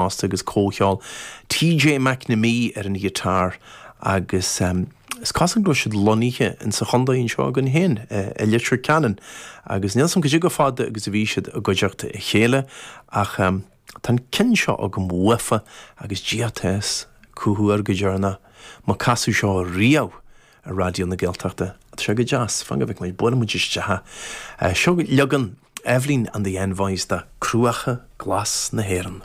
Fosta agus comhcheol TJ McNamee ar an ghiotár agus is cosúil go raibh siad lonnaithe in sa chontae anseo againn féin, i Leitir Ceanainn agus níl 'fhios a'm cad é chomh fada agus a bhí siad i gcuideachta a chéile ach tá an ceann seo agam uafa agus Dia atá 'fhios cá huair go deireanach má casadh seo riamh ar Raidió na Gaeltachta. Tá sé go deas, fan go bhfeicfidh muid, buailfidh muid isteach é. Seo leagan Eibhlín and the Envoys de Cruacha Glas na hÉireann.